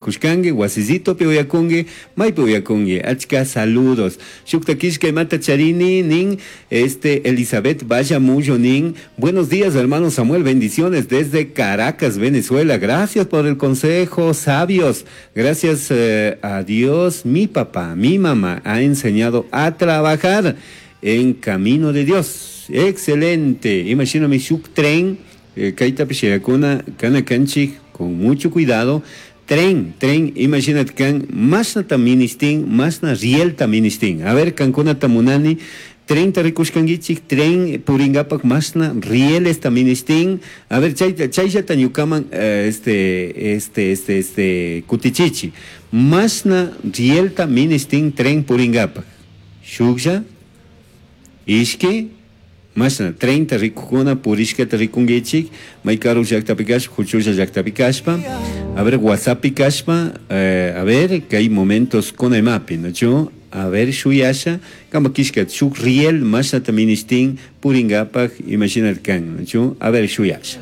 Kushkangi, wasisitopi uyakungi, maypi uyakungi, achka saludos. Shukta kishka charini nin, este Elizabeth Vallamullo nin, buenos días hermano Samuel, bendiciones desde Caracas, Venezuela. Gracias por el consejo, sabios. Gracias eh, a Dios, mi papá, mi mamá ha enseñado a trabajar en camino de Dios. Excelente. Imagíname shuk tren, eh, kaita pishayakuna, kana kanchik, con mucho cuidado. Tren, tren, imagínate kan, masna ministin, masna rielta ministin. A ver, kankuna tamunani, tren rikushkankichik, tren puringapak masna rieles ministin. A ver, chay, chayllata ñukaman, eh, este, este, este, este, kutichichi. Masna rielta ministin tren puringapak. Shuklla, ishki, masna 30 rikukuna purishkata rikunkichik, may karu llaktapi kashpa, huchulla llaktapi kashpa, a ver, WhatsAppi kashpa, eh, a ver, kay momentos kunaymapi, ¿no? A ver, shuyasha, kama kishka shuk riel masnata ministin puringapak, imaginat kan, ¿no? A ver, shuyasha.